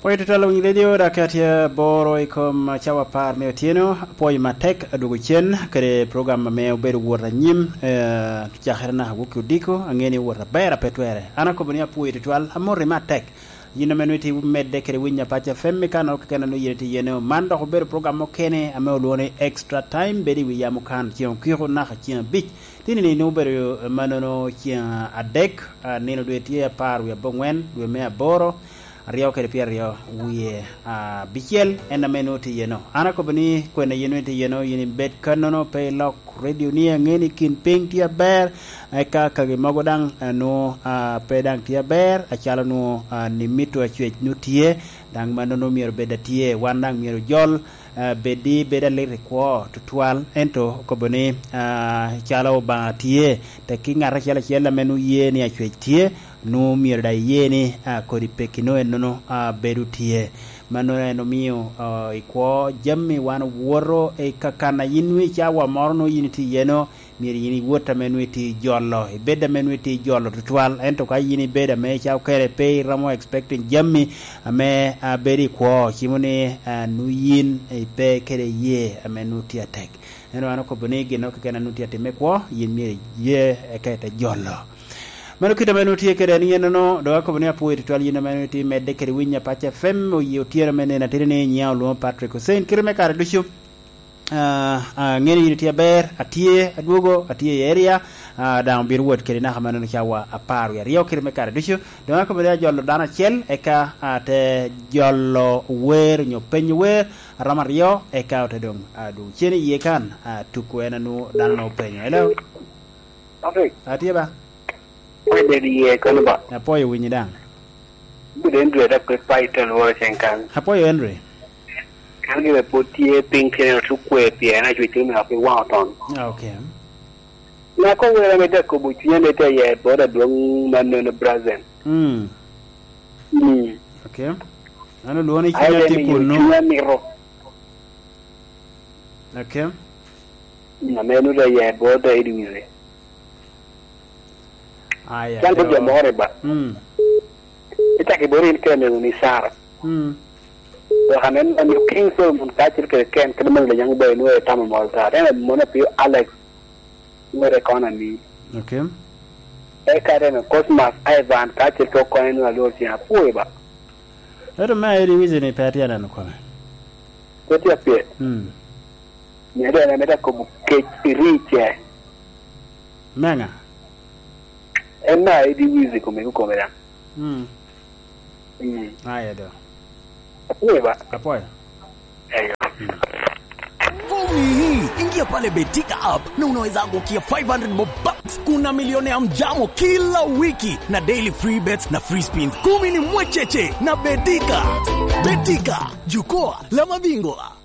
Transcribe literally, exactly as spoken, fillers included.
Pwoyo tutwal winy redio, dok atye aboro i kom cawa apar me otyeno. Apwoyo matek adwogo cen kede program ame obedo wot anyim, eh, cakere naka wok i odiko, aŋe ni wot aber a pe twere. An akobo ni apwoyo tutwal, amoti matek. Yin ame nwoŋo itye medde kede winyo Apac F M i kan oro keken a nwoŋo yin itye iye-no. Man dok obedo program mukene ame olwoŋo ni Extra Time, bedo i wi yam okan ceŋ okiko naka ceŋ abic. Tini-ni nwoŋo obedo mannono ceŋ adek, ah, nino dwe tye apar wie aboŋwen, dwe me aboro, aryo kede pyeraryo wie abicel, en ame nwoŋo tye iye-no. An akobo ni kwene yin nwoŋo itye iye-no, yin ibed kannono, pe ilok redio ni, aŋe ni kin piny tye aber, eka kagi mogo daŋ, ah, nwoŋo, ah, pe daŋ tye aber, acalo nwoŋo, ah, ni mito acwec nwoŋo tye, daŋ mannono myero bed atye, wan daŋ myero ojol, ah, bed di bed alit i kwo tutwal, ento okobo ni, ah, calo Obaŋa tye, tekki ŋat acel acel ame nwoŋo ye ni acwec tye, nwoŋo myero daŋ iye ni, ah, kodi pekki nwoŋo ennono, ah, bedo tye. Mannono en omio, ah, i kwo jami wan owoto i kakan a yin nwoŋo i cawa moro nwoŋo yin itye iye-no, myero yin iwot ame nwoŋo itye jolo, ibed ame nwoŋo itye jolo tutwal, ento ka yin ibed ame ca okene pe iromo expecting jami ame, ah, bedo i kwo, cimo ni, ah, nwoŋo yin ipe kede ye ame nwoŋo tye atek. Ento an okobo ni gin keken a nwoŋo tye atim me kwo, yin myero iye eka ite jolo. Mano kit ame nwoŋo tye kede en, yen nono, dok akobo ni apwoyo tutwal yin ame nwoŋo itye medde kede winyo Apac F M, oye otyeno me nino ateni ni nyiŋa olwoŋo Patrick Hussein. Kite me kare ducu, ah, ah, aŋeni yin itye aber, atye, adwogo, atye i area, ah, daŋ obino wot kede naka mannono cawa apar wie aryo kite me kare ducu. Doŋ akobo ni ajolo dano acel, eka ate jolo wer onyo penyo wer, aromo aryo, eka ote doŋ, ah, dwogo cen iye kan, ah, tuko en a nwoŋo dano nwoŋo openyo. Hello? Patrick. Atye ba? Apwoyo bedo iye kano ba? Apwoyo winyi daŋ. Bedo Andrew da kwe pa ito lworo cen kan. Apwoyo Henry. Kan gire pwod tye piny kene otu kwe pien acwec kene me api waŋ oton. Ah, okay. Na ko wera me dako bo cwinya me te ye boda dwong mannono brazen. Mm. Mm. Okay. An olwoŋo ni ai, cunya tye kunu. Cunya mito. Okay. Mm, ame nuda ya boda idi wize. Aya, can ko jo moro ba. Mm. Ita ke bori in kene ni Sara. Mm. Dok anen man ni King Solomon ka cil kede ken, kede man le yang ba inu e tamo moro ta. Tena mona pio Alex. Ngore kona ni. Okay. E ka tena Cosmas Ivan ka cil ko kona ni alor tia. Pue ba. Ero me airi wizi ni pe atye aneno kome. Pe tye apye. Mm. Mio doŋ en amito akobo kec i rice. Me ŋa? En na edi wizi kome kome daŋ. Mm. Mm. Aye do. Apwoyo ba? Apwoyo. Eyo. Mm. Omiyi, ingia pale Betika app na unaweza angukia five hundred bob bucks. Kuna milioni ya mjamo kila wiki na daily free bets na free spins kumi ni mwecheche na Betika. Betika, jukwaa la mabingwa.